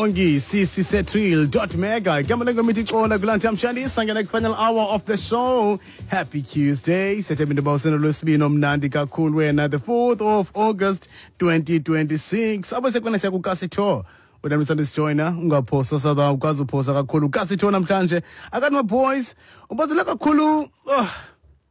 Bongi Sisi Setril dot mega. Igama lengoma ithi Xola kulantha mshandisa ngena final hour of the show. Happy Tuesday. Sethemba into yoba usenolwesibini omnandi kakhulu wena, the 4th of August 2026. Abo sekwana siya kukasi tour. Wena msanda sijoyina, ungaphosa sada, ukwazi uphosa kakhulu. Kasi tour namhlanje. Akati my boys, ubazela kakhulu. Oh,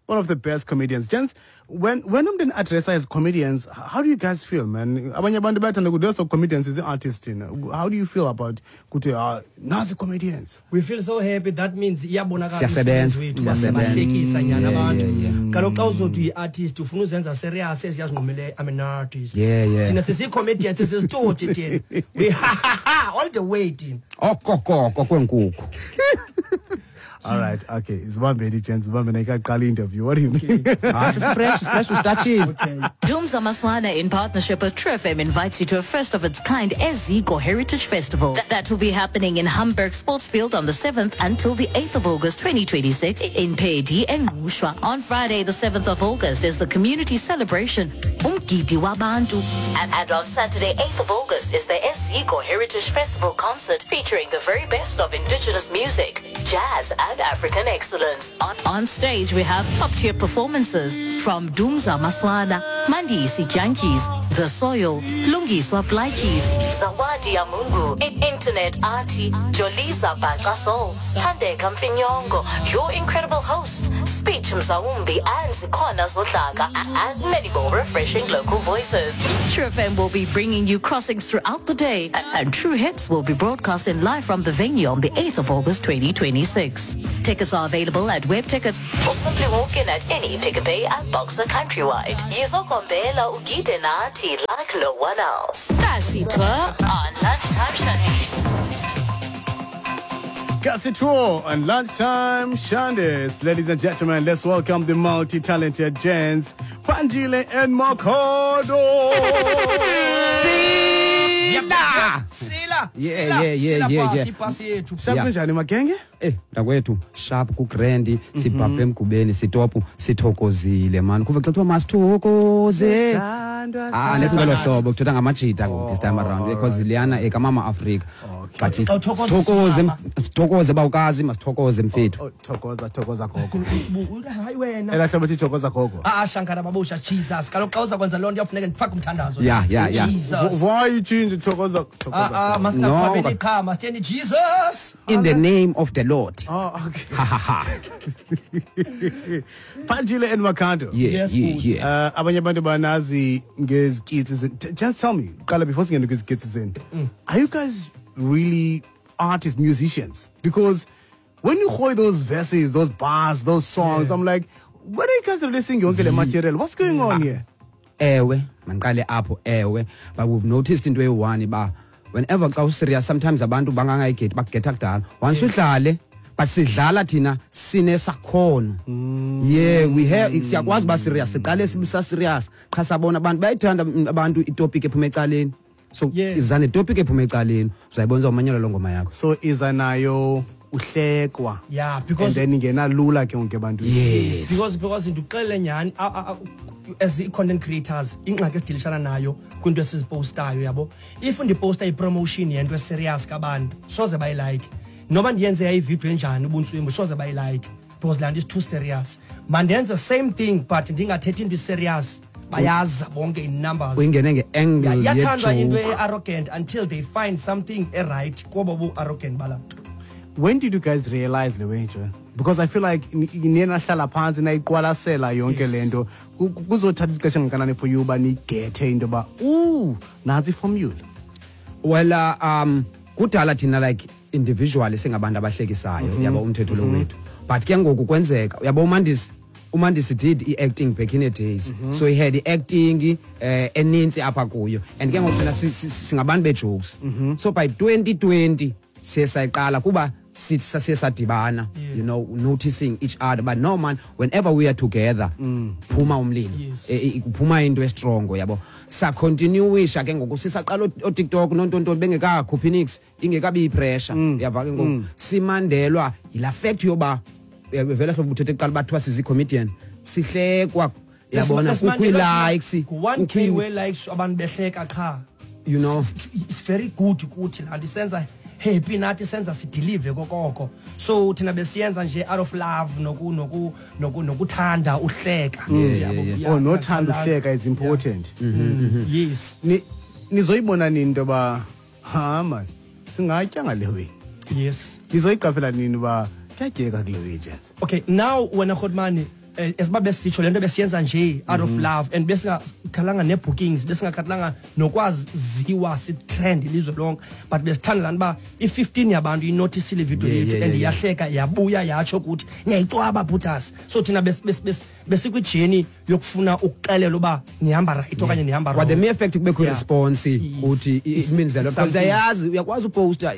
one of the best comedians. Gents, when umntu address as comedians, how do you guys feel, man? Abanye abantu bayathanda ukuthi those comedians is the artist, you know. How do you feel about ukuthi nazi comedians? We feel so happy. That means iyabonakala Siyasebenza. umsebenzi wethu. Siyasebenza. Siyabahlekisa nyana abantu. Kaloku xa uzothi uyi-artist, ufuna uzenza serious, esiyazinqumele, "I'm an artist." Thina sisiyi-comedians, sisisitoti thina. We ha ha ha all the way thina. Okokoko kwenkukhu. All right, okay. Zibambeni, gents, zibambeni, ayikaqali interview. What do you mean? Ah, fresh, fresh ustatshile. Okay. Dumza Maswana, in partnership with True FM, invites you to a first of its kind Eziko Heritage Festival. That will be happening in Hamburg Sportsfield on the 7th until the 8th of August 2026 in Peddie and Ngqushwa. On Friday, the 7th of August, is the community celebration Umgidi Wabantu. And on Saturday, 8th of August, is the Eziko Heritage Festival concert featuring the very best of indigenous music, jazz, and African excellence. On stage, we have top-tier performances from Dumza Maswana, Mandisi Dyantyis, The Soil, Lungiswa Plaatjies, Zawadi Yamungu, Internet Artie, Joliza Bhaca Soul, Thandeka Mfinyongo, your incredible hosts, Speech Mzawumbi and Zikona Zodlaka, and many more refreshing local voices. True FM will be bringing you crossings throughout the day, and True Hits will be broadcasting live from the venue on the 8th of August 2026. Tickets are available at Web Tickets or simply walk in at any Pick n Pay and Boxer countrywide. Yizokombela ugide nathi like no one else. Kasi Tour on Lunchtime Shandies. Kasi Tour on Lunchtime Shandies. Ladies and gentlemen, let's welcome the multi-talented gents, Phanjile and Makhado. Sila. Sila. Yeah, Sila, yeah, sila yeah, pasi, yeah. pasi yethu. Sharp kunjani, magenge? Mntakwethu, sharp ku-grand, sibhabhe emgubeni, sitopu, sithokozile man. Kuve xa kuthiwa masithokoze. Ah, nethi ngelo hlobo kuthetha ngamajita this time around because liyana ekamama Africa. But Xa uthokoza sithokoze, usimama. sithokoze bawukazi, masithokoze mfethu. Oh, thokoza, thokoza gogo. Usibu, hayi wena. Elaa hlobo thi thokoza gogo. Ah, Shankara babusha, Jesus. Kaloku xa uza kwenza loo nto kuyafuneka ndifake umthandazo. Yeah. Jesus. Why you change thokoza, thokoza Ah, ah, gogo? masingaqhwabeli No, qha, masitheni Jesus. In the name of the Lord. Oh, okay. Ha ha ha. Phanjile and Makhado. Yeah, Yes, yeah, good. yeah. Abanye abantu banazi ngezikitsi zenu. Just tell me, qala before singene kwizikitsi zenu. Are you guys really artists, musicians? Because when you hear those verses, those bars, those songs, I'm like, where are you guys releasing yonke le material? What's going on here? Ewe, mandiqale apho, ewe. But we've noticed into eyi-one ba whenever xa userious, sometimes abantu bangangayigethi, bakugetha kudala. Once udlale, but sidlala thina sinesakhono. Yeah, we have, siyakwazi uba serious, siqale sibisa serious. Qha sabona abantu bayayithanda abantu itopic ephuma ecaleni. So iza netopic ephuma ecaleni, uzayibona uzawumanyelwa loo ngoma yakho. So iza nayo uhlekwa. Yeah, because And then ingena lula ke wonke ebantwini. Yes. Because ndikuxelele nyhani, as i-content creators, ingxaki esidilishana nayo kwinto esizipostayo, yabo. If ndiposta i-promotion yento eserious kabantu, soze bayilike. Noba ndiyenze yayividiyo enjani ubuntswimbu, soze bayilike because laa nto is too serious. Mandenze same thing but ndingathethi into iserious, bayaza bonke in numbers. Uyingene nge-angle Iyathandwa into ye-joke. e-arrogant until they find something eright kobo bu-arrogant balaa nto. When did you guys realize le way nje? Because I feel like niye nahlala phantsi nayiqwalasela yonke le nto. Kuzothatha ixesha engakanani for you uba niyigethe into yoba, ooh, nantsi iformula? Well, kudala thina like individually singabantu abahlekisayo, yabo, umthetho lo wethu. But ke ngoku kwenzeka, uyabo, uMandisi did i-acting back in the days. So he had i-acting enintsi apha kuyo. And ke ngoku thina singabantu be-jokes. So by 2020 siye sayiqala kuba siye sadibana, noticing each other. But no man, whenever we are together, phuma umlilo. Kuphuma into estrongo, yabo. Sacontinuisha ke ngoku sisaqala oTikTok nontontoni bengekakhuphi nix, ingekabi ipressure. Uyava ke ngoku simandelwa yila fact yoba vele hlobo uthethe kuqala bathiwa sizi-comedian, sihlekwa, yabona, kukho ii-likes, Ngu-1K kukho we-likes, abantu behleka qha. You know. It's very good kuthi laa nto isenza happy, nathi senza sidelive kokoko. So thina besiyenza nje out of love nokuthanda uhleka. Yabo, yeah, Oh, nothanda yeah. uhleka is important. Yes. Nizoyibona nini into yoba ha man singatya ngale way? Yes. Nizoyiqaphela nini uba kuyatyeka kule way, gents? Okay, now wena Khotmani, esiba besitsho lento besiyenza nje out of love and besingakhalanga ne-bookings, besingakhathalanga nokwaziwa si-trend ilizwe lonke, but besithanda laa nto uba i-15 yabantu inotisile ividiyo yethu and iyahleka, yabuya yatsho ukuthi niyayicwaba bhutas. So thina besikwi-journey yokufuna ukuxelela uba nihamba right okanye nihamba But the wrong. mere fact kubekho response uthi it means a lot, because Something. ayazi uyakwazi uposta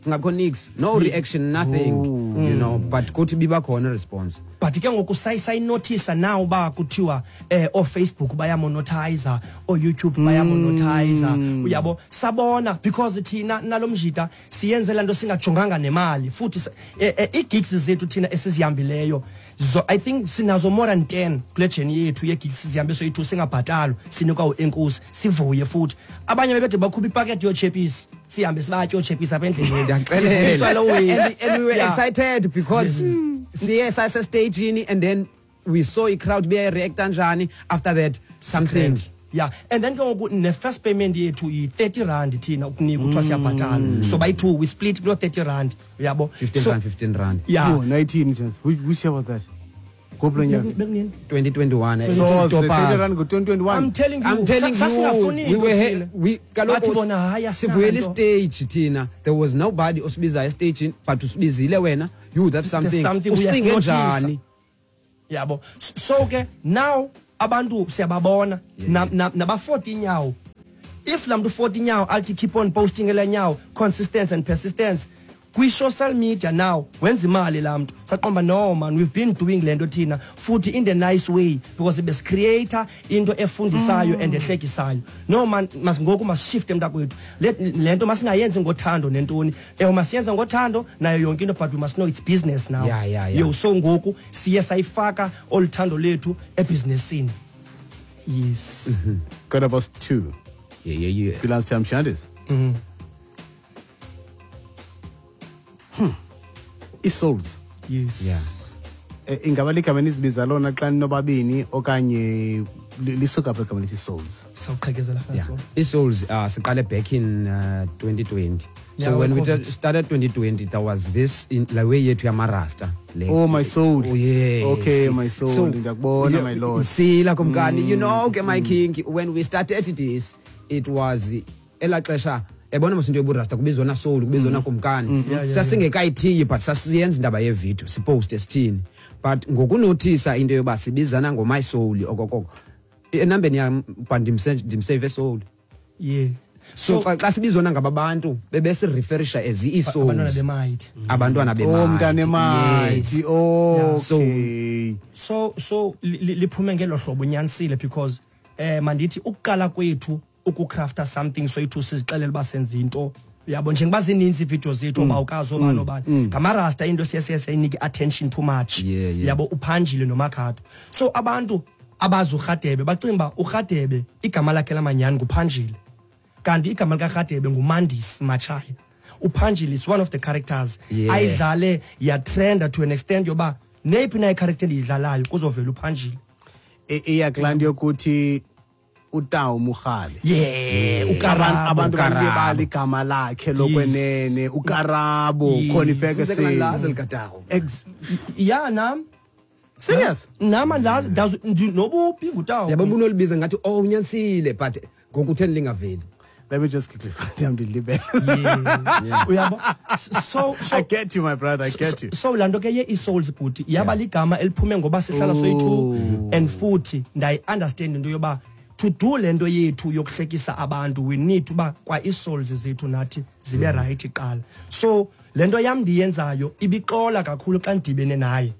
ngakho nix, no reaction, nothing, you know, but kuthi biba khona response. But ke ngoku sayinothisa now uba kuthiwa ooFacebook bayamonetize, ooYouTube bayamonetize, uyabo, sabona because thina nalomjita siyenze laa nto singajonganga nemali futhi ii-gigs zethu thina esizihambileyo zo, I think sinazo more than 10 kule journey yethu yee-gigs sizihambe soyi-two singabhatalwa, sinikwa uenkosi sivuye. Futhi abanye bebede bakhupha ipakethe yoochepisi, sihambe sibatye oochepisi apha endleleni. Ndiyakuxelela. Sivuyiswa loo way. And we were excited because siye sasestagini and then we saw i-crowd beyayireacta njani after that something. Yeah, and then ke ngoku ne-first payment yethu yi-30 rand thina ukunika kuthiwa siyabhatala, so bayi-two we split kuloo 30 rand, uyabo. 15 So- rand, 15 rand. Yeah. Yho, nayithini, gents? Which year was that? Ngophi lo nyaka? Bekunini? 2021. So, Topaz. 30 rand ngo-2021. I'm telling you, I'm telling you, sasingafuni we were into thina. we kaloku Bathi bona, hayi, sivuyele asinanto. stage thina. There was nobody osibizayo estagini, but usibizile wena. You, that's something. Something Ucinge uyasinothisa. njani? Yabo, so ke now abantu siyababona naba-40 inyawo. If laa mntu 40 inyawo althi keep on posting elaa nyawo, consistence and persistence kwi-social media, now wenza imali laa mntu. Saqomba, no man, we've been doing le nto thina futhi in the nice way because besicreata into efundisayo and ehlekisayo. No man, ngoku masishifte mntakwethu, le nto masingayenzi ngothando nentoni. Ewe, masiyenze ngothando nayo yonke into, but we must know it's business now. Yo, so ngoku siye sayifaka olu thando lethu ebhizinesini. Yes. 2:15. Yeah. Kwi-Lunchtime Shandis. I-souls. Yes. Ingaba ligama enizibiza lona xa ninobabini okanye lisuka apha igama lithi souls? Sawuqhekezela Yeah. so. I-souls siqale back in 2020. So Yeah, when we COVID. started 2020, there was this in la way yethu yamarasta. Le. Oh, my soul. Oh, yes. Okay, my soul. Ndiyakubona, my lord. Sila kumkani, you know, okay, my king, when we started this, it was elaa xesha yabona mos into yoburasta kubizwa na soul, kubizwa na kumkani. Sasingekayithiyi, but sasiyenza indaba yevidiyo, siposte sithini. But ngokunothisa into yoba sibizana ngo-my soul okokoko, enambeni yam but ndimsave soul. So xa sibizwana ngaba bantu bebesireferisha as ii-souls. Abantwana bemighty. Abantwana Oh, bemighty. mntana emighty. Yes. Okay. So liphume ngelo hlobo, unyanisile, because mandithi ukuqala kwethu ukucrafta something soyithu sizixelele uba senza into, uyabo, njengoba zininzi iividiyo zethu obawukazi obani obani ngamarasta, into siye siye sayinike i-attention too much. Uyabo, uphanjile nomakhado, so abantu abazi uRhadebe bacinga uba uRhadebe igama lakhe lamanyani nguphanjile, kanti igama likaRhadebe nguMandisi Machaya. Uphanjile is one of the characters ayidlale yatrenda to an extent yoba neyiphi na icharacter endiyidlalayo kuzovela uphanjile. Iya kulaa nto yokuthi utawu Mogale. Yeah, uKarabo. Abantu uKarabo. balibala igama lakhe lokwenene, uKarabo, khona ifeke. Sekungandilazi likatawu. Ya, nam. Serious? Nam andazi, nobuphi ngutawu. Yabo, ubunolibiza ngathi, oh, unyanisile, but ngoku utheni lingaveli? Let me just quickly find him ndilibele. Yeah. Uyabo, so I get you, my brother, I get you. So laa nto ke ye-e-souls, bhuti, yaba ligama eliphume ngoba sihlala soyi-two and futhi ndayi-understand into yoba to do le nto yethu yokuhlekisa abantu, we need uba kwa ii-souls zethu nathi zibe right kuqala. So le nto yam ndiyenzayo ibixola kakhulu xa ndidibene naye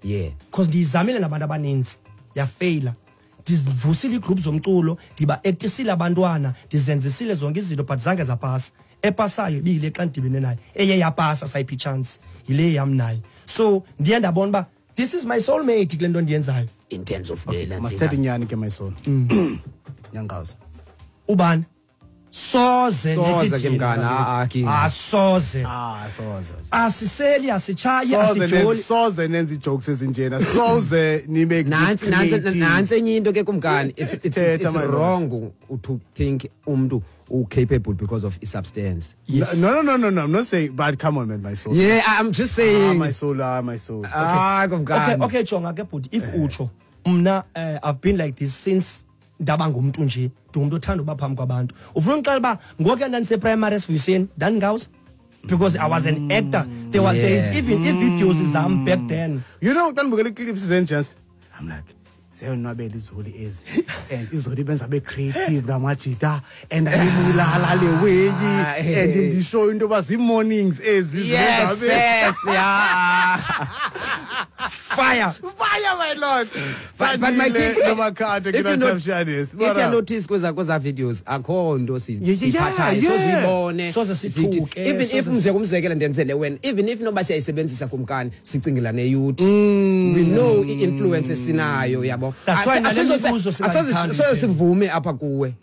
because ndiyizamile nabantu abaninzi, yafeyila. Ndizivusile iigroup zomculo, ndiba-actisile abantwana, ndizenzisile zonke izinto, but zange zapasa. Epasayo ibiyile xa ndidibene naye. Eye yapasa sayiphi chance yile yam naye. So ndiye ndabona uba this is my soulmate kule nto ndiyenzayo. In terms of the Masithethe inyani ke, my soul. Nyangazi. Ubani? Soze. Soze Nethi ke thina, mngani, kaloku. ah, ah, King. Ah, soze. Ah, soze. Asiseli, asitshayi, Soze asijoli. soze nenze ijokes ezinjena. Soze nibe Nantsi nantsi creative. nantsi enye into ke, kumkani, Thetha, it's my lord. wrong to think umntu u-capable because of i-substance. Yes. No, I'm not saying, but come on, man, my soul. Yeah, I'm just saying. Ah, my soul, ah, my soul. Ah, Okay. kumkani. Okay, jonga ke bhuti, if utsho mna, I've been like this since ndaba ngumntu nje. Ndingumntu othanda uba phambi kwabantu. Ufuna undixelela uba ngokuya ndandiseprimary esivuyiseni ndandingawuza because I was an actor. There is even ii-videos zam back then. You know, xa ndibukela ii-clips zenjans, I'm like, ziyonwabela izoli ezi, and izoli benza be-creative namajita, and ayibulala le weyi, and ndisho into yoba zii-mornings ezi Yes, zibenza yes, yeah. Fire. Fire, my lord. But my king, noMakhado if you not- kinathamshanis. If you notice kweza videos, akho nto siyiphathayo, sozibone. Soze sithuke, Even if umzekelo ndenzele wena, even if noba siyayisebenzisa, kumkani, sicingela neyouth, we know i-influence esinayo, yabo. That's why nale mibuzo singayithandi Asoze phela. sivume apha kuwe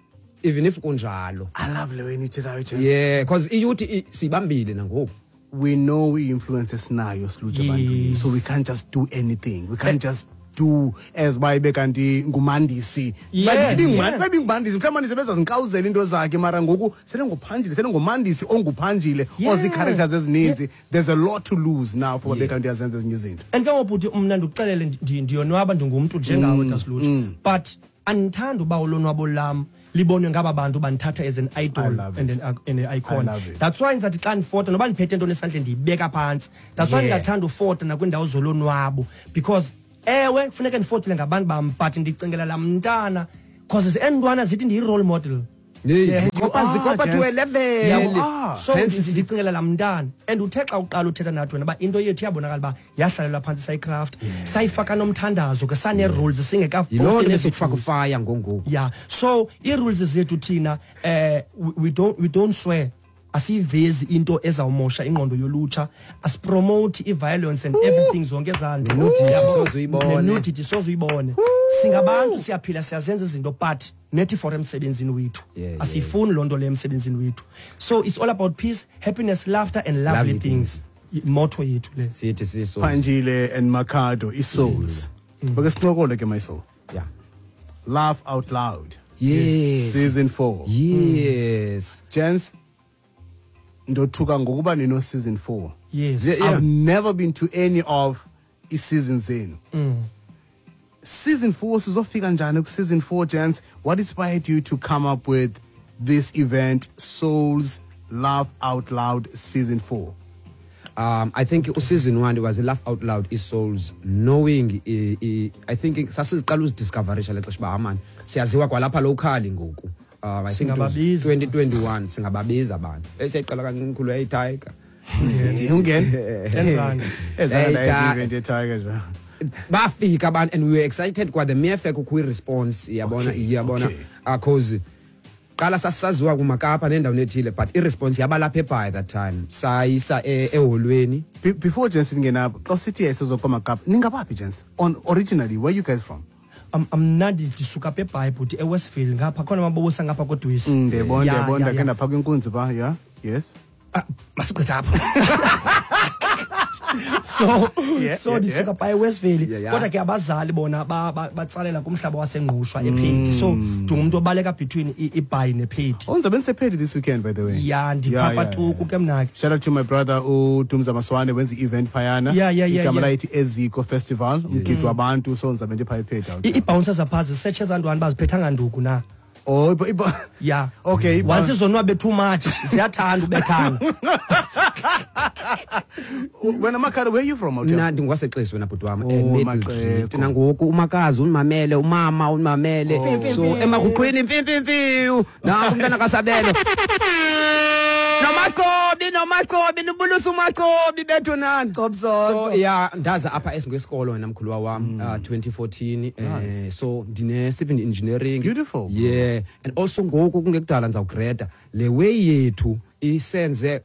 even if kunjalo. I love le way nithethayo, gents. Yeah, because iyouth siyibambile nangoku. We know i-influence esinayo silutsha ebantwini, so we can't just do anything. We can't just do as uba ibe kanti ngumandisi. Ibingumandisi mhlawumbi, mandisi bezazinkawuzela into zakhe, mara ngoku sele nguphanjile, sele ngumandisi onguphanjile, ozii-characters ezininzi. There's a lot to lose now for babe kanti uyazenza ezinye izinto. And ke ngoku bhuti, mna ndikuxelele, ndiyonwaba, ndingumntu njengawe, Daslutsha, but andithandi uba ulonwabo lam libonwe ngaba bantu bandithatha as an I idol love and it. an icon. I love it. That's why ndizathi xa ndifota, noba ndiphethe ntoni esandleni, ndiyibeka phantsi. That's why ndingathanda ufota nakwiindawo zolonwabo, because ewe, funeke ndifotele ngabantu bam, but ndicingela laa mntana, cause eentwana zithi ndiyi-role model. Hey, zikopa You are, zikopa to gents. a level. You are. So Hence, ndicingela laa mntana. And uthe xa uqala uthetha nathi wena uba into yethu iyabonakala uba yahlalelwa phantsi, sayicraft, sayifaka nomthandazo ke, sanee-rules. Yiloo nto Singekaposti. besokufaka ufaya ngongoku. Yeah, so ii-rules zethu thina, we don't swear, asiyivezi into ezawumosha ingqondo yolutsha, asipromote i-violence and everything, zonke ezaa nto. Ne-nudity Yabo? soze uyibone. Ne-nudity soze uyibone. Singabantu, siyaphila, siyazenza izinto, but nethi for emsebenzini wethu asiyifuni loo nto leyo emsebenzini wethu. So it's all about peace, happiness, laughter and lovely Lovely things. Motto yethu le. Sithi siso. Phanjile and Makhado, i-souls. Bake sincokole ke, my soul. Laugh Out Loud season 4. Gents, ndothuka ngokuba nino season 4. I've never been to any of i-seasons zenu. Season 4, sizofika njani ku-season 4, gents? What inspired you to come up with this event, Souls Laugh Out Loud season 4? I think season 1 was a laugh out loud i-souls knowing I think sasiziqala uzidiscoverisha le xesha uba amani siyaziwa kwalapha locally ngoku. I think it was Singababiza. 2021 singababiza abantu. Esiyayiqala kancinci yayitiger. Ungena 10 rand. ezana Hey, event yetiger nje. Bafika abantu and we were excited kwa the mere fact kukho i-response, yabona. Yabona, cause qala sasisaziwa kumakapa nendawo ethile, but i-response yabalapha ebhayi. That time sayisa eholweni. Before gents ningena apho, xa sithi yayisezokomakapa, ningabaphi, gents? On originally, where you guys from? Mna ndisuka apha eBhayi bhuti, eWestville ngapha, khona amabobosa ngapha kodwesi. Ndiyabona, ndiyabona, ndakhe ndapha kwinkunzi pha, yeah, yes. Ah, masigqitha apho. So so ndisuka phaa eWestville, kodwa ke abazali bona batsalela kumhlaba waseNgqushwa, ePhedi. So ndingumntu obaleka between iBhayi nePhedi. Oh, ndizabe ndisephedi this weekend, by the way. Ya, ndiphapha tuku ke mna ke. Shout out to my brother uDumza Maswane, wenza i-event phayana. Igama layithi Eziko Festival, umgidi wabantu, so ndizabe ndipha ephedi out. Ii-bouncers apha zisetshe ezaa ntwana baziphethanga nduku na. Oh, okay, Once izonwabe too much, ziyathanda ubethana. Wena Makhado, where you from, Mna ndingwaseXesi wena bhuti wam. Oh, eMiddle. Maxeko. Nangoku umakazi undimamele, umama undimamele. Oh. So emaguqwini, mfimfimfiu, nanku umntana kaSabelo noMaqobi, noMaqobi, nibulisa uMaqobi bethu nani. So yeah, ndaza apha esingesikolo wena mkhuluwa wam, 2014, so ndine civil engineering. Beautiful. Yeah, and also ngoku kungekudala ndizawugreda le way yethu isenze,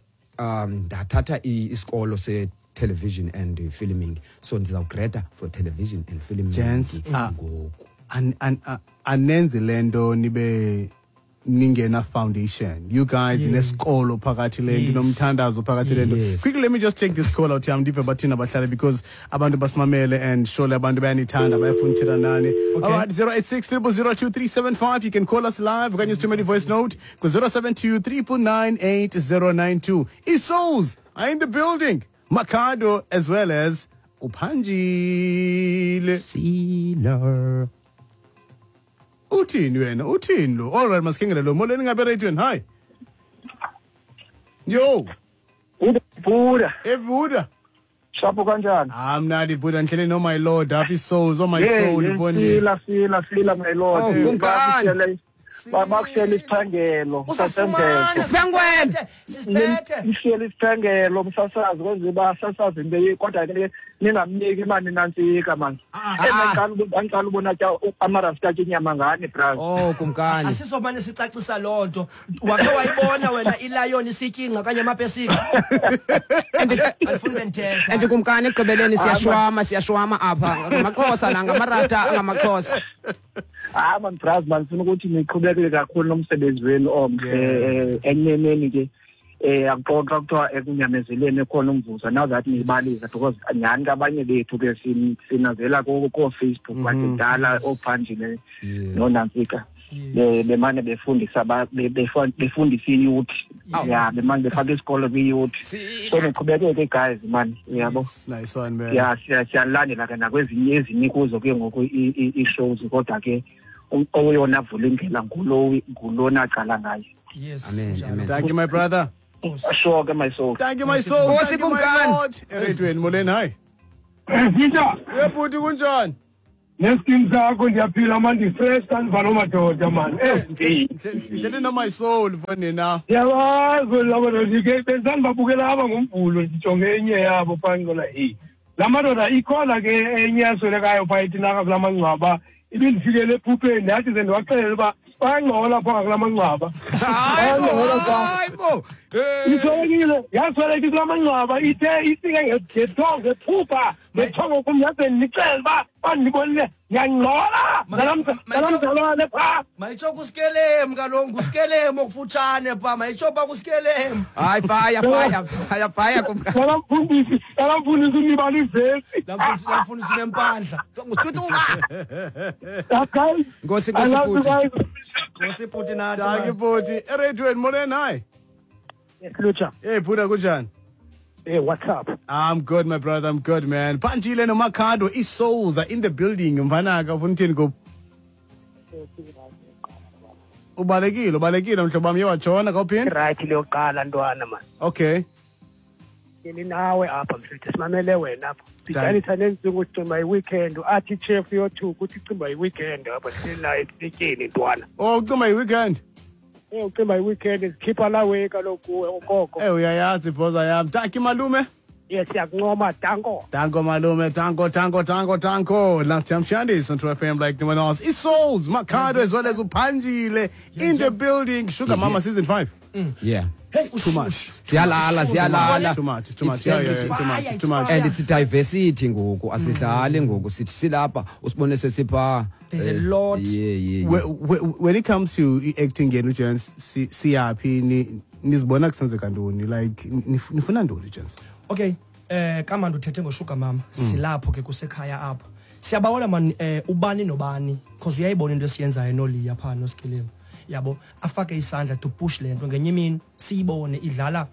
ndathatha isikolo se television and filming, so ndizawugreda for television and filming Gents, ngoku. Anenzi le nto nibe ningena foundation. You guys inesikolo phakathi le nto, nomthandazo phakathi le nto. Yes. Quickly, let me just take this call out here. Ndive bathina abahlali because abantu basimamele and surely abantu bayanithanda, bayafuna uthetha nani. Okay. All right, 086 0002375. You can call us live okanye sithumele i-voice note ku-072 999 8092. I-Souls are in the building. Makhado as well as uPhanjile. Sila. Uthini wena? Uthini lo? All right, masikhengele lo. Molweni ngabe ereyidweni. Hi. Yo, Buda, ebuda. shapo kanjani? Amnandi buda, ndihlele no my lord, happy souls, oh my Hey, soul, mfondini. sila sila sila my lord. Oh, kumkani. Bakushela isiphangelo Uzasifumana. Sengwen. Sisiphethe. Ishela isiphangelo umsasazi kwenze basasazi into kodwa ke ningamniki imali nantsika man. Engiqala ubona tya amarasta atya inyama ngani bra. Oh kumkani. Asizomane sicacisa loo nto. Wakhe wayibona wena ilayoni isityingca okanye amapesika? Andifuni bendithetha. And kumkani ekugqibeleni siyashwama apha ngamaXhosa nangamarasta angamaXhosa. Ah man bras man sifuna ukuthi niqhubekele kakhulu nomsebenzi wenu omhle eneneni ke akuxoxa kuthiwa ekunyamezeleni ekhona umvuzo now that niyibalisa because nyhani kabanye bethu ke sinazela koo-Facebook kwadala oophanjile noonantsika bemane befundisa befundisa iyouth, ya bemane befaka isikolo kwi-youth, so niqhubekeke guys man, uyabo. Nice one, man. Ya siyalandela ke nakwezinye ezinye kuzo ke ngoku ii-shows kodwa ke oyona vula indlela ngulona aqala ngayo. Yes. Amen, njalo. amen. Thank you, my brother. Sure ke my soul. Thank you, my soul. Nkosi Thank you, my kumkani. lord. Ereyidweni, molweni, hi. Sitha Yebhuti kunjani? neskim sakho ndiyaphila man, ndifresh kandiva loo madoda man. Ndihlele no my soul mfondini na. Ndiyabazi la madoda ke bendisandibabukela apha ngoMvulo ndijonge enye yabo phaa ndibona heyi laa madoda ikhona ke enye yaswelekayo phaa itinaka kulaa mangcwaba ibindifikele ephupheni ndathi ze ndiwaxelele uba bayangcola phaa ngakulaa mangcwaba bayangcola phaa. Hayibo. Iswelekile yasweleka kulaa mangcwaba ithe ifike ngethongo ngephupha ngethongo kum yaze ndixele uba bandibonile ndiyangcola nalamzalwane phaa. Mayitsho kusikelemu kaloku, ngusikelemu okufutshane pha, mayitsho pha kusikelemu. Hayi fire fire fire fire kumkani. Nalamfundisi unibala ivesi. Lamfundisi nempandla. Ngusithuthuka. Guys, Nkosi I Nkosi love you bhuti. guys. Nkosi bhuti nathi. Thank you, bhuti. Ereyidweni, molweni, hi. Lucha, Hey, Buddha, kunjani? hey, what's up? I'm good, my brother. I'm good, man. Phanjile noMakhado, i-souls are in the building. Mfanaka, ufuna uthini kubo? Ubalekile, ubalekile mhlobo wam, uye watshona kawuphinde? Right leyoqala ntwana man. Okay. Ngili nawe apha mfethu simamele wena apha. Sidanisa nenzuku ucima i-weekend athi chef yothuka uthi cimba i-weekend apha sihleli naye esityeni ntwana. Oh, ucima i-weekend. Ucimba i-weekend sikhipha lawe kaloku kuwe okoko. Uyayazi ibhoza yam. Thank you, malume. Yes, siyakuncoma danko. Danko malume, danko, danko, danko, danko. Last time Shandy on True FM like no one else. I-Souls, Makhado as well as uPhanjile in the building. Sugar Mama season 5. Yeah. Hey, Too much. Siyalala siyalala. Too much. It's too much. Yeah, yeah, yeah. It's too much. It's too much. And it's diversity ngoku asidlali ngoku sithi silapha usibone sesipha. There's a lot. Yeah. When it comes to acting yenu gents, siyaphi nizibona kusenzeka ntoni? Like nifuna ntoni gents? Okay, kamandi uthethe ngoSugar Mama. Silapho ke kusekhaya apho. Siyabawela man ubani nobani because uyayibona into esiyenzayo noLiya pha noSkelemu. Yabo afake isandla to push lento ngenye imini siyibone idlala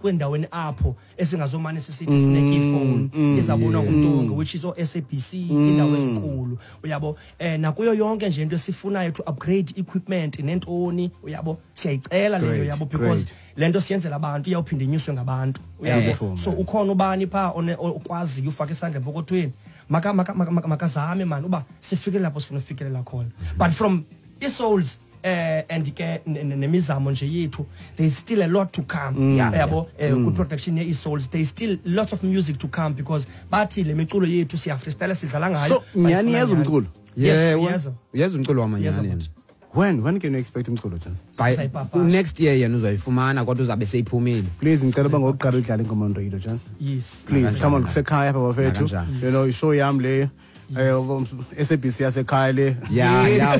kwendaweni apho esingazomane sisithi funeka ifone izabonwa ngumntu wonke which is o-SABC indawo ezinkulu uyabo nakuyo yonke nje into esifunayo to upgrade equipment nentoni uyabo siyayicela leyo yabo because lento siyenzela abantu iyawuphinda inyuswe ngabantu uyabo so ukhona ubani pha okwaziyo ufaka isandla empokothweni makazame man uba sifikele lapho sifuna ufikelela khona but from i-souls and ke nemizamo nje yethu there is still a lot to come yabo good production ye souls there is still lots of music to come because bathi le miculo yethu siya freestyle sidlala ngayo so nyani yeza umculo yes yeza umculo wamanyani when can you expect umculo chance by next year yena uzoyifumana kodwa uzabe seyiphumile please ngicela ba ngokuqala udlala ingoma on radio chance yes please come on kusekhaya apha bafethu you know ishow yami le. SABC yasekhaya le. Yeah.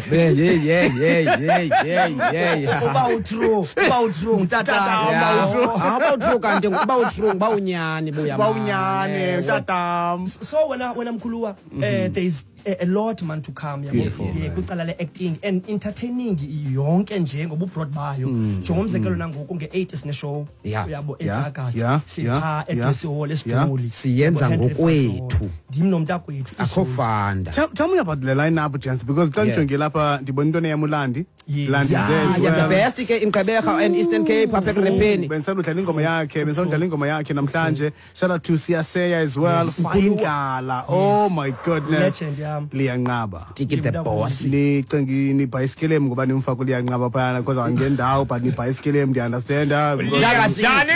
Uba utrue ngutata. Yeah. Uba utrue kanti uba utrue uba unyani buya. Uba unyani tatam. So wena mkhuluwa, there is a lot, man, to come, yabo. Beautiful, Yeah, man. kwicala le-acting and entertaining yonke nje ngobubroad bayo, njengomzekelo nangoku nge-8 sine-show, uyabo, e-August sipha eDressy Hall eSiduli. Siyenza Yabo, Henry ngokwethu. Ndim nomntakwethu. Akho fanda. Tell me about the lineup, gents, because xa ndijonge lapha ndibona into yam uLandi. Yes. Landi is there as Yeah, the well. best ke in Gqeberha and Eastern Cape apha ekurepeni. Bendisandudlala ingoma yakhe, bendisandudlala ingoma yakhe namhlanje. Shout out to Siyaseya as well. Fayindlala. Oh my goodness. Legend yam. Liyanqaba. Tiki the boss. Nicinga nibhayisikilem ngoba nimfaka uliyanqaba phayana because angendawo, but nibhayisikilem, ndiyaunderstanda. Njani?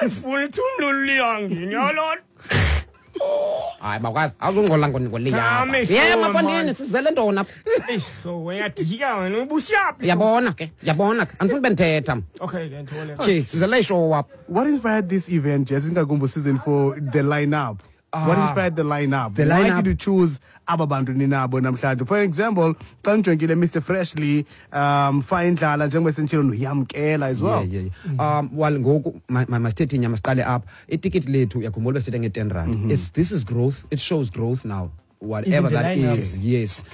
Andifuni thumluliyangini yalona. Hayi, bakwazi awuzungqola ngoliya. Khame, Ye sure, mafondini, man. sizele ntoni apha? Eish, so uyadika wena, ubusiyaphi? Uyabona ke, uyabona ke, andifuni bendithetha. Okay ke, Nthole. Tshi, sizele ishow apha. What inspired this event, Jess? Ingakumbi season 4, the lineup. What inspired the lineup? The Why lineup- did you choose aba bantu ninabo namhlanje? For example, xa ndijongile Mr Freshly, Fayindlala, njengoba senditshilo, noYamkela as well. Yeah. Well, ngoku masithethe inyama, siqale apha. Itikiti lethu, uyakhumbula besithethe nge-10 rand. This is growth. It shows growth now. Whatever Even the that lineup. is, yes.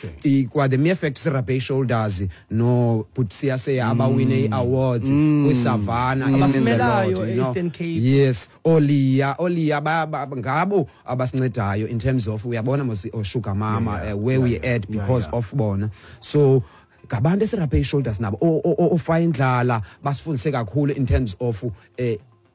Kwa the mere fact sirabhe shoulders no put Siyaseya abawine i-awards kwiSavannah, it means a lot, Abasimelayo you know. e-Eastern Cape. Yes, Oliya ngabo abasincedayo in terms of, uyabona mos, oSugar Mama, where we at because of bona. So ngabantu esiraphe i-shoulders nabo, oFayindlala basifundise kakhulu in terms of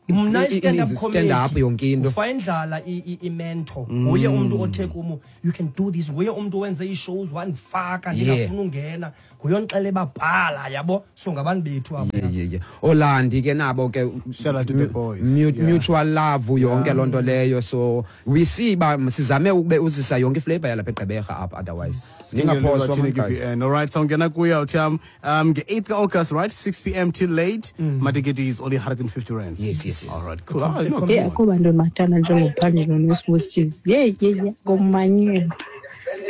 Mna i-stand-up stand up comedy, yonke into. uFayindlala i-mentor, nguye umntu othe kum, "You can do this." Nguye umntu owenze ii-shows wandifaka ndingafuni ungena, nguye ondixele babhala, yabo. So ngabantu bethu abo. Yeah. Olandi ke nabo ke. Shout out to the boys. Mutual love yonke loo nto leyo. So we see ba sizame ukube uzisa yonke iflavor yalapha eGqeberha apha, otherwise ningaphoswa, man, guys. KBN. All right, so ngena kuya utham nge-8 August, right? 6 p.m. till late. Matikiti is only 150 rands. Yes. All right, cool. Ah, no, Ye, akho bantu ndibathanda njengophandle noSibusisi. Ye ye ye, ngomanyela.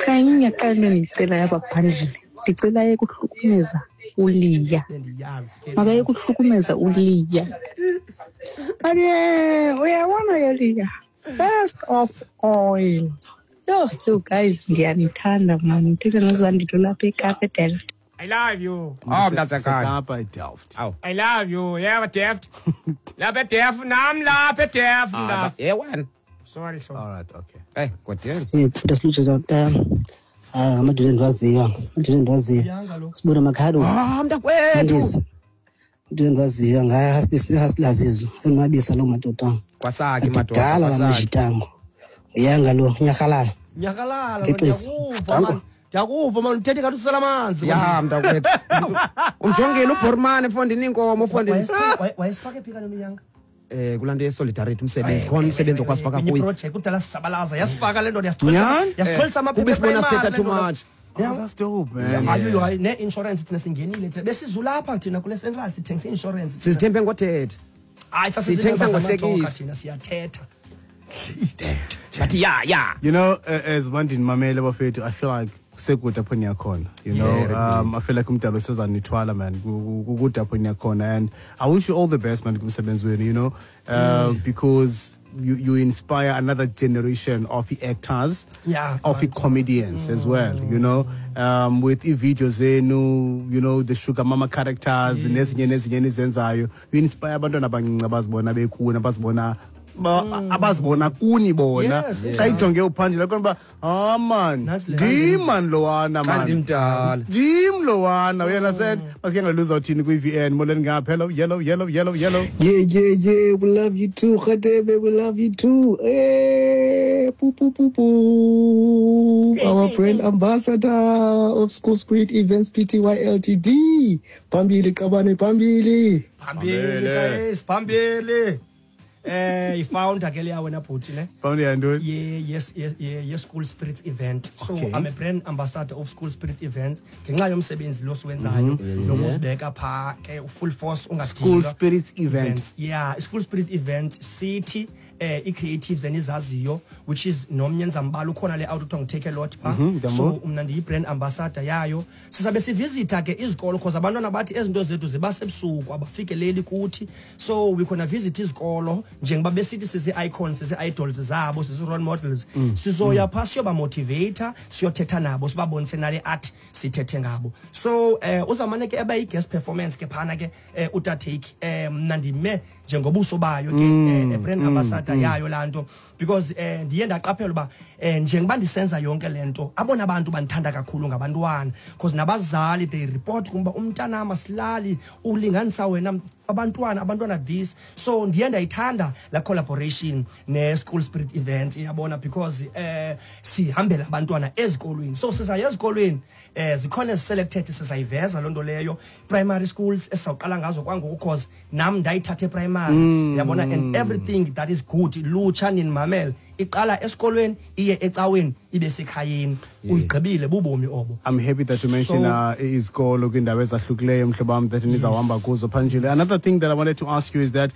Kanye qala into endiyicelayo apha phandle. Ndicela ayeke ukuhlukumeza uLiya. Bendiyazi ke. Makayeke ukuhlukumeza uLiya. But uyabona ke Liya, first of all, yho, you guys, ndiyanithanda man. Ndithetha noZandile lapha eKapa eDelft. I love you. Oh, mntasekhaya. Sekapa eDelft. Awu. I love you. Yeah, Delft. Lapha eDelft nam, lapha eDelft. Ah, Mntase. ye wena. Sorry, hlobo. All right, okay. Eh, kodwa Futhi silutshe tata. Ah, amadoda endiwaziyo, amadoda endiwaziyo. Yanga lo. Sibona makhado. Ah, mntakwethu. Mandisi. Amadoda endiwaziyo ngayahasilazizo. Enwabisa loo madoda. Kwasakhe madoda. Adidala la Kwasakhe. majitango. Uyanga lo, nyakalala. Nyakalala. Ngexesi. Ndiyakuva man, ndiyakuva man, uthethe ngathi usela amanzi. Ya mntakwethu. Umjongile uBhormane mfondini, inkomo mfondini. Wayesifake phi kaloku uyanga? Kulaa nto ye-solidarity, umsebenzi khona, umsebenzi okwasifaka Kwenye kuyo. iproject kudala sisabalaza, yasifaka le ndoda. Nyhani? Yasixolisa Kuba amaphepha isibona emali sithetha le too ndoda. much. Oh, that's dope, man. Hayi, hayi, nee-insurance thina singenile thina, besizulapha thina kule central sithengisa i-insurance. Sizithembe ngothetha. Hayi, sithengisa sasizimemba ngohlekisa. zamajoka thina, siyathetha. But yeah. As Mandin Mamele bafethu, I feel like kusekude apho niyakhona. I feel like umdalo sezanithwala, man. Kukude apho niyakhona, and I wish you all the best, man, kumsebenzi wenu, because you inspire another generation of the actors, of the comedians as well, with i-videos zenu, the Sugar Mama characters, nezinye nezinye nizenzayo. You inspire abantwana abancinci abazibona bekuni, abazibona abazibona kuni bona. Xa ijonge uphandle khona uba, ah man, Nantsi le. ndim man lowana man. Ndimdala. Ndim lowana, you understand? Masike ngaluza uthini kwi-VN. Molweni ngapha. Hello, yellow, yellow, yellow, yellow. Yeah. We love you too, Khatebe. We love you too. Hey, poo, poo, poo, poo. Our brand ambassador of School Spirit Events Pty Ltd. Phambili, Qabane, phambili. Phambili guys, phambili. I-founder ke leya wena bhuti ne. Founder yantoni? Ye yes yes ye School Spirits event. So I'm a brand ambassador of School Spirit event ngenxa yomsebenzi lo siwenzayo nokuzibeka pha ke full force ungadinwa. School Spirits event. Yeah, School Spirit event sithi ii-creatives enizaziyo, which is nomnye ndizambala ukhona le out kuthiwa ngu-Take a Lot phaa. Ndiyambona. So mna ndiyi-brand ambassador yayo. Sizabe sivisitha ke izikolo, cause abantwana bathi ezi nto zethu ziba sebusuku, abafikeleli kuthi. So we gonna visit izikolo njengoba besithi sizi-icons, sizi-idols zabo, sizi-role models. Sizoya phaa siyobamotivata, siyothetha nabo, sibabonise nale art sithethe ngabo. So uzawumane ke eba yi-guest performance ke phana ke utatake. Mna ndime njengobuso bayo ke, brand ambassador yayo laa nto, because ndiye ndaqaphela uba njengoba ndisenza yonke le nto, abona bantu bandithanda kakhulu ngabantwana, because nabazali they report kum uba umntanam asilali, ulinganisa wena abantwana, abantwana this. So ndiye ndayithanda laa collaboration ne-School Spirit Events, iyabona, because sihambela abantwana ezikolweni. So sizaya ezikolweni, zikhona ezi-selected, sizayiveza loo nto leyo, primary schools esizawuqala ngazo kwangoku, cause nam ndayithatha eprimary, yabona. And everything that is good, lutsha ninimamele, iqala esikolweni, iye ecaweni, ibe sekhayeni, uyigqibile, bubomi obo. I'm happy that you mentioned izikolo kwiindawo ezahlukileyo, mhlobo wam, that nizawuhamba kuzo phanjile. Another thing that I wanted to ask you is that,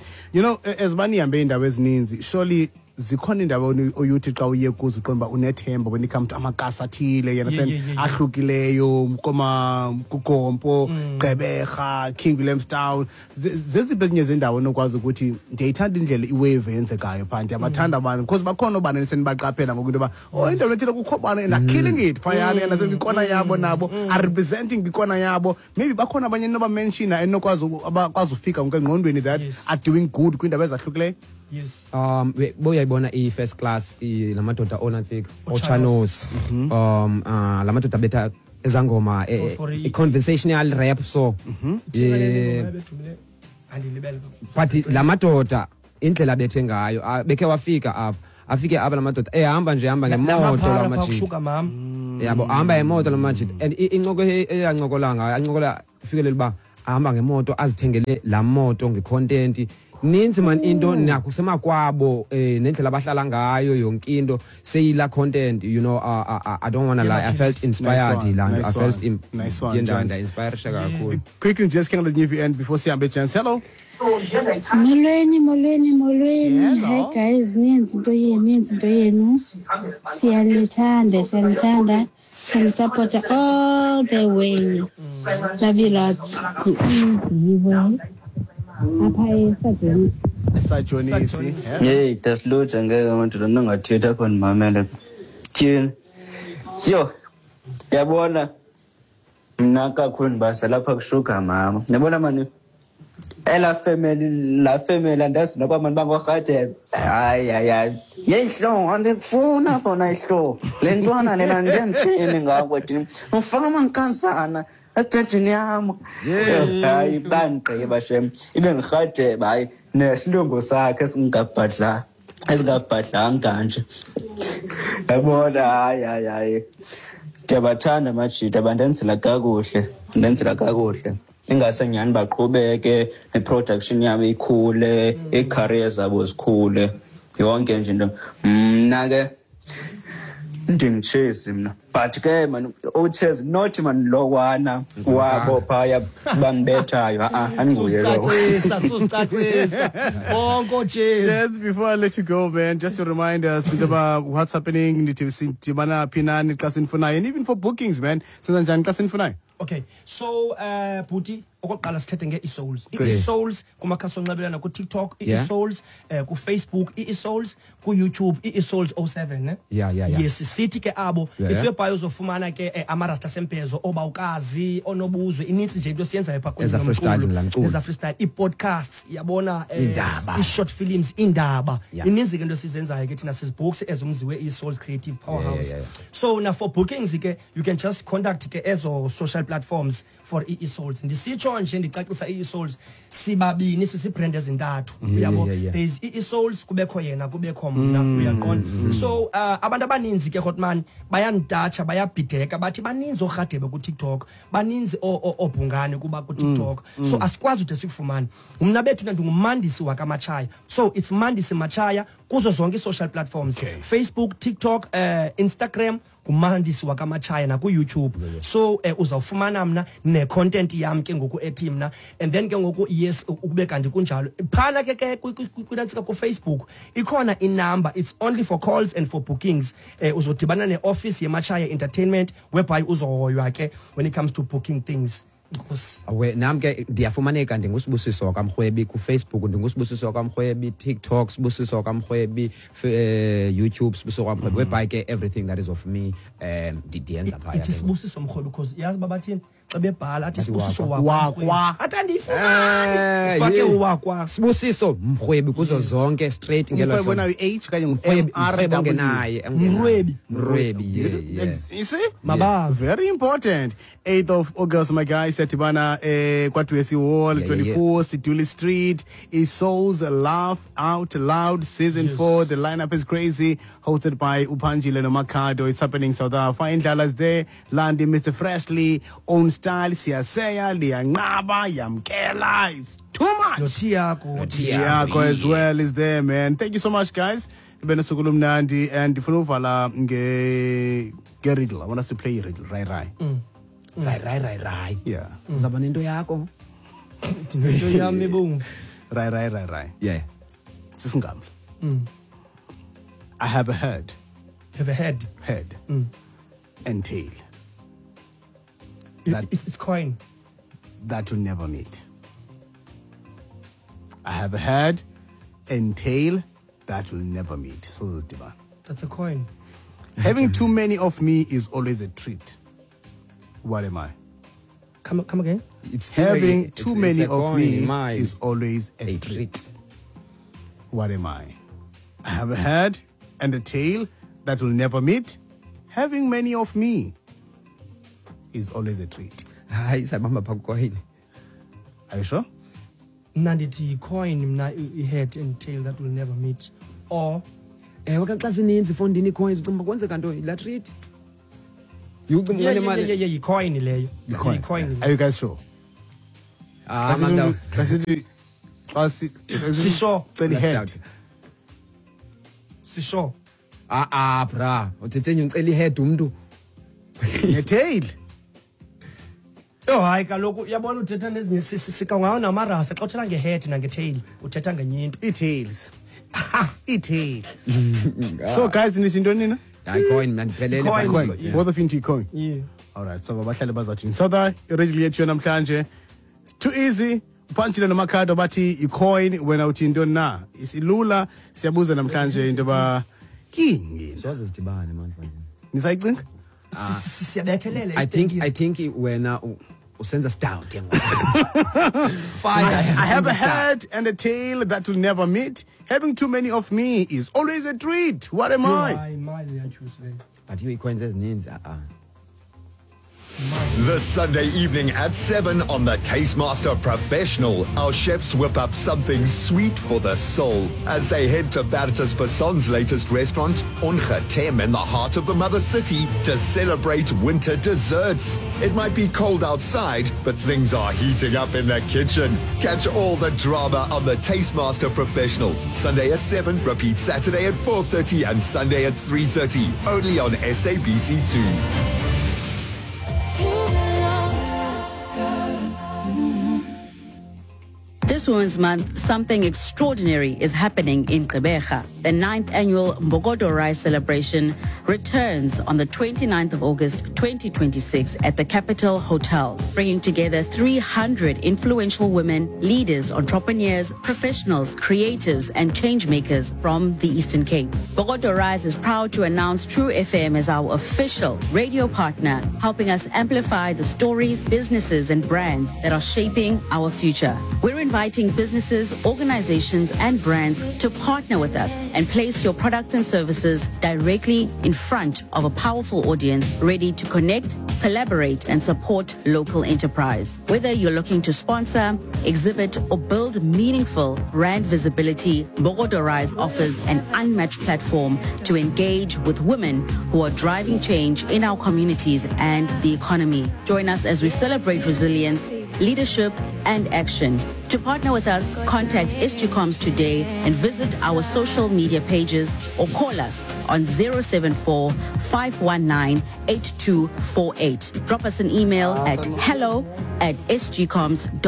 as banihambe iindawo ezininzi, surely zikhona iindawo oyuthi xa uye kuzo uqonda uba unethemba when it comes to amakasi athile, you understand, ahlukileyo, koma kuGompo, Gqeberha, King Williamstown. Zeziphi ezinye zendawo onokwazi ukuthi ndiyayithanda indlela iwave eyenzekayo phaa, ndiyabathanda abantu, because bakhona oobani esenibaqaphela ngoku into yoba, oh, indawo ethile kukho bani and are killing it phayana, and kwikona yabo nabo are representing kwikona yabo. Maybe bakhona abanye enobamenshina enokwazi abakwazi ufika ngoku engqondweni that are doing good kwiindawo ezahlukileyo? Yes. Boyayibona i-first class, la madoda onantsika, ochanos, la madoda betha ezangoma, i-conversational rap, so Thina le ngoma ebedumile, andilibele. But la madoda indlela bethe ngayo, bekhe wafika apha, afike apha la madoda ehamba nje, ehamba ngemoto la Lamaphara phaa majita. kushuka mam. Yabo, ahamba ngemoto la majita, and incoko eyancokola ngayo, ancokola fikelele uba ahamba ngemoto, azithengele laa moto ngecontent ninzi man, into nakusemakwabo, nendlela abahlala ngayo, yonke into seyila content. I don't wanna lie, I felt inspired. Nice one, Laa nto nice I felt one, nice one, ndiye gents. ndainspirisha kakhulu. Quickly, just can let you end before sihambe, gents. Hello. Molweni, molweni, molweni. Hello. Hi guys, nenzi into yenu, nenzi into yenu. Siyanithanda, siyanithanda. Siyanisupporta all the way. Love you lots. Yibo. Apha eSajoni. Sajonisi. Yeyi, dasilutsha, ngeke madoda, ndingathetha apha, ndimamele. Tyhini, yho, yabona mna kakhulu ndibasa lapha kushuga mama, yabona mani elaa family, laa family andazi noba mani bangoorhatebe. Hayi, hayi, hayi, yeyi hlobo, andikufuna bona ihlobo le ntwana lena, ndiyandithini ngako thini, ufaka amankazana ebhedini yam. Hayi, bandigqiba shem, ibe ngirhatebe. Hayi, nesilungu sakhe esingabhadla, esingabhadlanga nje, yabona. Hayi, hayi, hayi, ndiyabathanda amajita, bandenzela kakuhle, bandenzela kakuhle. Ingase nyhani baqhubeke ne-production yabo ikhule, ii-career zabo zikhule, yonke nje into. Mna ke ndingutshezi mna, but ke man utshezi not man lowana wabo phaya bambethayo, a-a, andinguye lowo. Susicacisa, susicacisa. Bonke Jesu. Gents, before I let you go, man, just to remind us about what's happening, nithi sidibana phi nani xa sinifunayo, and even for bookings, man. Senza njani xa sinifunayo? Okay, so bhuti, okokuqala sithethe nge-eSouls. Great. I-eSouls kumakhasi onxibelelwano, kuTikTok, i-eSouls kuFacebook, i-eSouls kuYouTube, i-eSouls 07, ne? Yeah. Yes, sithi ke abo, if uyebhayo uzofumana ke amarasta semphezo, obawukazi, onobuzwe, inintsi nje into esiyenzayo phaa kunye Eza nomculo. freestyles laa mculo. Eza freestyle, ii-podcasts, yabona, Iindaba. ii-short films, iindaba. Ininzi ke into esizenzayo ke thina, sizibooks ezumzi we-eSouls Creative Powerhouse. So na for bookings ke, you can just contact ke ezo social platforms for i-eSouls. Ndisitsho nje ndicacisa, i-eSouls sibabini, sisibrand ezintathu, uyabo. There is i-eSouls, kubekho yena, kubekho mna, uyaqonda. So abantu abaninzi ke, Hotman, bayandatsha, bayabhideka, bathi baninzi oorhadebe kuTikTok, baninzi oobhungane kuba kuTikTok, so asikwazi ude sikufumane. Mna bethu ndingumandisi wakaMatshaya, so it's Mandisi Matshaya kuzo zonke ii-social platforms, Facebook, TikTok, Instagram. Ngumandisi wakaMatshaya naku-YouTube. So uzawufumana mna ne-content yam ke ngoku ethi mna, and then ke ngoku, yes, ukube kanti kunjalo phana ke kwinantsika kuFacebook ikhona inumber. It's only for calls and for bookings. Uzodibana ne-office yeMatshaya Entertainment, whereby uzohoywa ke when it comes to booking things. Nkosi. Awe, nam ke ndiyafumaneka, ndinguSibusiso wakaMrhwebi kuFacebook, ndinguSibusiso wakaMrhwebi TikTok, Sibusiso wakaMrhwebi YouTube, Sibusiso wakaMrhwebi, whereby ke everything that is of me ndiyenza phaya. Ithi Sibusiso Mrhwebi because yazi uba bathini xa bebhala, athi Bathi Sibusiso wakwa. wakwa, athi andiyifumani, ufake uwakwa. Sibusiso Mrhwebi kuzo zonke, straight ngelo Mrhwebi hlobo. onayo i-H okanye Mrhwebi, ngu-M R Mrhwebi W? ongenaye, ongenaye. Mrhwebi. Mrhwebi, yeah. You see? Mabava. Very important. 8th of August, my guys, siyadibana kwaDwesi Hall, 24 Siduli Street. Souls Laugh Out Loud Season 4. The lineup is crazy. Hosted by Upanjile Nomakado. It's happening South Africa. Indlala's there. Landi, Mr. Freshly, Own Style, Siaseya, Liangaba, Yamkela. It's too much. Notiago. Tiago as well is there, man. Thank you so much, guys. Bene suku lumnandi, and ndifuna uvala nge riddle. I want us to play a riddle. Right, right. Right, right, right, right. Yeah. Uzawuba nento yakho. Into yam ibomvu. Right, right, right, right. Yeah. Sisingamla. I have a head, Have a head. Head, and tail It's coin. That will never meet. I have a head and tail that will never meet. So this divan. That's a coin. Having too many of me is always a treat. What am I? Come again? It's still Having too it's many a of coin me in mine. Is always a A treat. treat. What am I? I have a head and a tail that will never meet. Having many of me is always a treat. Hayi, sabamba phaa kucoin. Are you sure? Mna ndithi yi-coin mna, i-head and tail that will never meet, or Ewe, ka xa zininzi fondini ii-coins, ucinga uba kwenzeka ntoni? Laa treat. Ucinga Yeah, uba nemali. yeah, yi-coin leyo. Coin. Yi-coin. Are you guys sure? Ah, man, Xa sithi- xa si- Sisho. Cela i-head. Left out. Sisho. Ah, ah, bra. Uthethe nje ucela i-head umntu. Ne-tail. Yho, hayi kaloku, uyabona uthetha nezinye sikangawo namarasa. Xa uthetha nge-head nange-tail, uthetha ngenye into. Ii-tails. Ii-tails. So guys, nithi ntoni nina? Hayi, coin mna ndiphelele. Coin. phaa. Coin. Yes. Both of you into coin. Yeah. All right, so abahlali bazathini? So that iriddle yethu namhlanje. It's too easy. Uphantshile noMakhado bathi i-coin, wena uthi intoni na? Isilula, siyabuza namhlanje into yoba kini. Soze sidibane, man. Nisayicinga? Siyabethelela. I think wena usenza stout ke ngoku. I have a head and a tail that will never meet. Having too many of me is always a treat. What am I? Hayi, imali iyatyhusa leyo. But ii-coins ezininzi, ah, ah. This Sunday evening at 7 on the Taste Master Professional, our chefs whip up something sweet for the soul as they head to Bertus Basson's latest restaurant, Ongetem, in the heart of the mother city, to celebrate winter desserts. It might be cold outside, but things are heating up in the kitchen. Catch all the drama on the Taste Master Professional. Sunday at 7, repeat Saturday at 4:30 and Sunday at 3:30, only on SABC2. This Women's Month, something extraordinary is happening in Gqeberha. The 9th annual Mbokodo Rise celebration returns on the 29th of August 2026 at the Capital Hotel, bringing together 300 influential women, leaders, entrepreneurs, professionals, creatives, and changemakers from the Eastern Cape. Mbokodo Rise is proud to announce True FM as our official radio partner, helping us amplify the stories, businesses, and brands that are shaping our future. We're inviting businesses, organizations, and brands to partner with us and place your products and services directly in front of a powerful audience ready to connect, collaborate, and support local enterprise. Whether you're looking to sponsor, exhibit, or build meaningful brand visibility, Mbokodo Rise offers an unmatched platform to engage with women who are driving change in our communities and the economy. Join us as we celebrate resilience, leadership, and action. To partner with us, contact SGComs today and visit our social media pages or call us on 074 519 8248. Drop us an email at hello at sgcoms.co.za.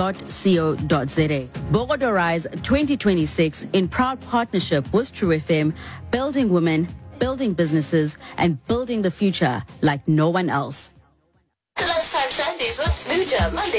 Bogodo Rise 2026 in proud partnership with True FM, building women, building businesses, and building the future like no one else. The Lunchtime Shandies with Smooja, Monday